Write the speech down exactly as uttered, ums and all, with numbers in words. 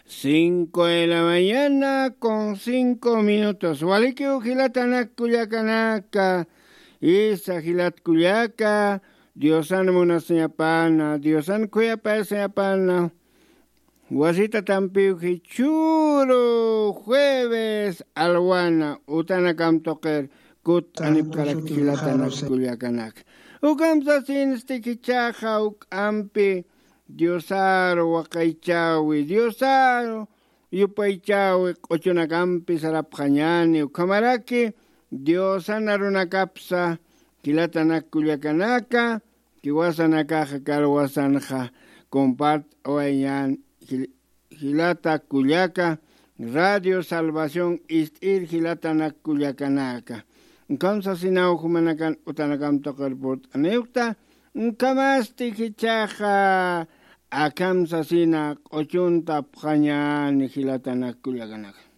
Cinco de la mañana con cinco minutos. Walikiw jilatanak kullakanaka, isa jilat kullaka, diosan munasiñapana, diosan khuyapayasañapana. Wasita tampiw jichhuru jueves alwana utanakam tuqir kut'anipkarak jilatanak kullakanaka. Ukamsasinsti jichhaxa uk'ampi diosaru waqaychawi diosaru yupaychawi q'uchunakampi sarapxañani ukhamaraki diosan arunakapsa jilatanak kullakanaka. Kiwasanakaxa karwasanxa compart'awayñan jilata kullaka radio salvación ist'ir jilatanak kullakanaka. Ukham sasinaw jumanakan utanakam tuqir purt'aniwta. Ukhamasti jichhaxa akham sasina q'uchunta apxañani jilatanak kullakanaka.